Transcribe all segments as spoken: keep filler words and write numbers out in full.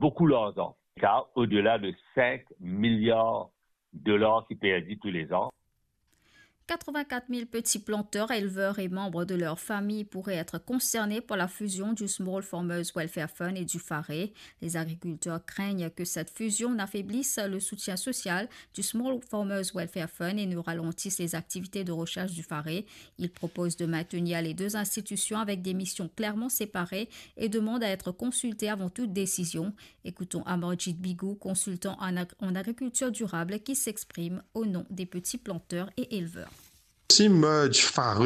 beaucoup d'argent, car au-delà de cinq milliards de dollars qui perdus tous les ans. Quatre-vingt-quatre mille petits planteurs, éleveurs et membres de leur famille pourraient être concernés par la fusion du Small Farmers Welfare Fund et du FARE. Les agriculteurs craignent que cette fusion n'affaiblisse le soutien social du Small Farmers Welfare Fund et ne ralentisse les activités de recherche du FARE. Ils proposent de maintenir les deux institutions avec des missions clairement séparées et demandent à être consultés avant toute décision. Écoutons Amarjit Bigou, consultant en ag-, en agriculture durable, qui s'exprime au nom des petits planteurs et éleveurs. Si merge FARE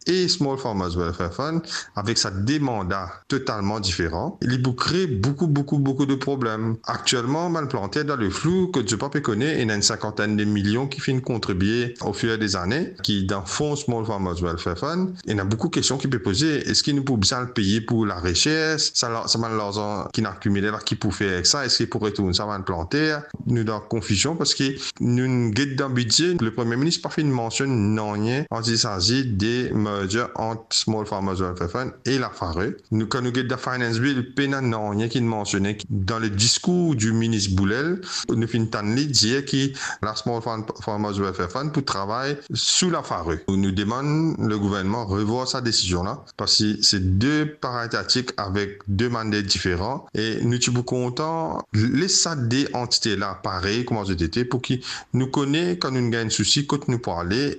e Small Farmers Welfare Fund, avek sa de manda totalman diferan, li pou kre boukou, boukou, boukou de problem. Aktielman, bann planter dan le flou, kot zot pa pe kone, ena enn sinkantenn de milion ki finn kontribie au fur et à mesure, ki dan fon Small Farmers Welfare Fund. Ena boukou kestion ki pe poze, eski nou pou bizin al peye pou lareshers, sa la, sa bann larzan ki'nn akimile la, ki pou fer ek sa, eski pou retourn sa bann planter? Nou dan konfizion, parski nou get dan bidze, le Premie Minis pa finn mansionn nanye an ki sazi de merger ant Small Farmers Welfare Fund e la FARE. Nou, kan nou get dan Finance Bill, pena nanye ki'nn mansione. Dan le diskour di minis Boulel, nou finn tann li dir ki la Small Farm-, Farmers Welfare Fund pou travay sou la FARE. Nou, nou demann le gouvernman revwar sa desizion la, parski se de parey tatik avek de manier diferan, e nou ti pou kontan les sa de antite la parey kouma zot ete, pou ki nou kone kan nou gagn sousi kot nou pou ale.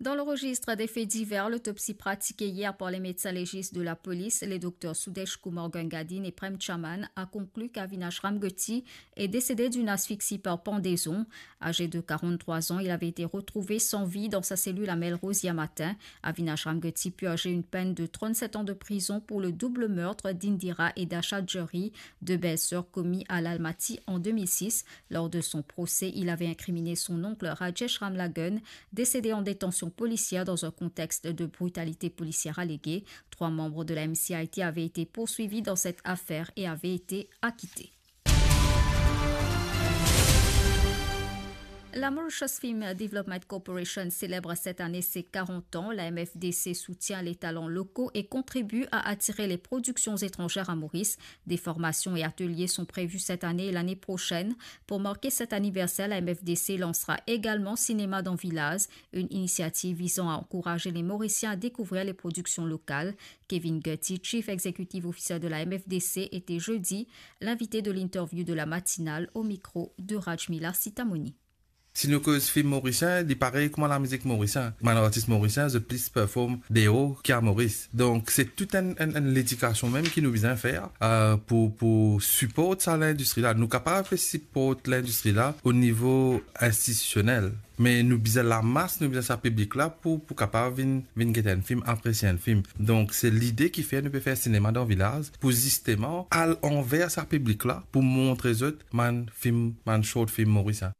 Dans le registre des faits divers, l'autopsie pratiquée hier par les médecins légistes de la police, les docteurs Sudesh Kumar Gangadin et Prem Chaman, a conclu qu'Avinash Ramgoti est décédé d'une asphyxie par pendaison. Âgé de quarante-trois ans, il avait été retrouvé sans vie dans sa cellule à Melrose hier matin. Avinash Ramgoti purgeait une peine de trente-sept ans de prison pour le double meurtre d'Indira et d'Asha Jauhri, deux belles-sœurs, commis à l'Almaty en deux mille six. Lors de son procès, il avait incriminé son oncle Rajesh Ramlagun, décédé en détention policière dans un contexte de brutalité policière alléguée. Trois membres de la M C I T avaient été poursuivis dans cette affaire et avaient été acquittés. La Mauritius Film Development Corporation célèbre cette année ses quarante ans. La M F D C soutient les talents locaux et contribue à attirer les productions étrangères à Maurice. Des formations et ateliers sont prévus cette année et l'année prochaine. Pour marquer cet anniversaire, la M F D C lancera également Cinéma dans Village, une initiative visant à encourager les Mauriciens à découvrir les productions locales. Kevin Gutty, Chief Executive Officer de la M F D C, était jeudi l'invité de l'interview de la matinale au micro de Rajmila Sitamoni. Si nou koz film morisien, li parey kouma lamizik morisien. Bann artis morisien, zot plis perform deor ki a Moris. Donk, se tou enn, enn, enn ledikasion mem ki nou bizin fer, euh, pou, pou siport sa lindistri la. Nou kapav siport lindistri la o nivo institisionel. Me nou bizin lamas, nou bizin sa piblik la pou, pou kapav vinn, vinn get enn film, apresie enn film. Donk, se lide ki fer nou pe fer Cinéma dans Village, pou zisteman al anver sa piblik la, pou montre zot bann film, bann short film morisien.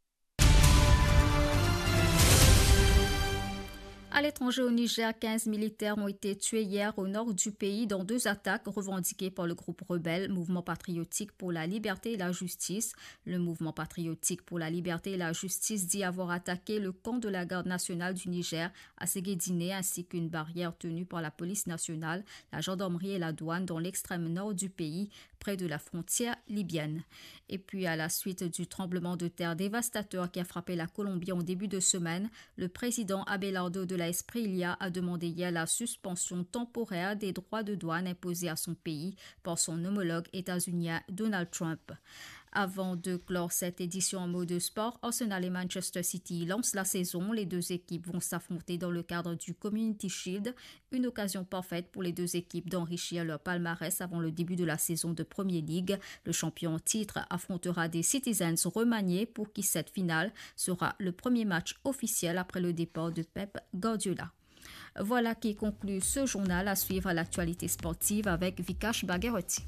À l'étranger, au Niger, quinze militaires ont été tués hier au nord du pays dans deux attaques revendiquées par le groupe rebelle Mouvement Patriotique pour la Liberté et la Justice. Le Mouvement Patriotique pour la Liberté et la Justice dit avoir attaqué le camp de la Garde nationale du Niger à Segedine, ainsi qu'une barrière tenue par la police nationale, la gendarmerie et la douane dans l'extrême nord du pays, près de la frontière libyenne. Et puis, à la suite du tremblement de terre dévastateur qui a frappé la Colombie en début de semaine, le président Abelardo de la Espriella a demandé hier la suspension temporaire des droits de douane imposés à son pays par son homologue états-unien Donald Trump. Avant de clore cette édition en mot de sport, Arsenal et Manchester City lancent la saison. Les deux équipes vont s'affronter dans le cadre du Community Shield, une occasion parfaite pour les deux équipes d'enrichir leur palmarès avant le début de la saison de Premier League. Le champion en titre affrontera des Citizens remaniés, pour qui cette finale sera le premier match officiel après le départ de Pep Guardiola. Voilà qui conclut ce journal. À suivre l'actualité sportive avec Vikash Bhagirathi.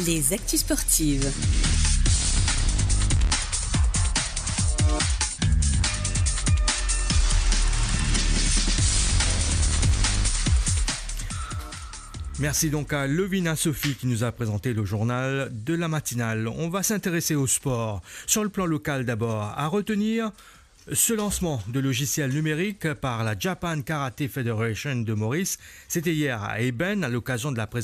Les actus sportives. Merci donc à Lovina Sophie qui nous a présenté le journal de la matinale. On va s'intéresser au sport. Sur le plan local d'abord, à retenir ce lancement de logiciel numérique par la Japan Karate Federation de Maurice. C'était hier à Eben, à l'occasion de la présentation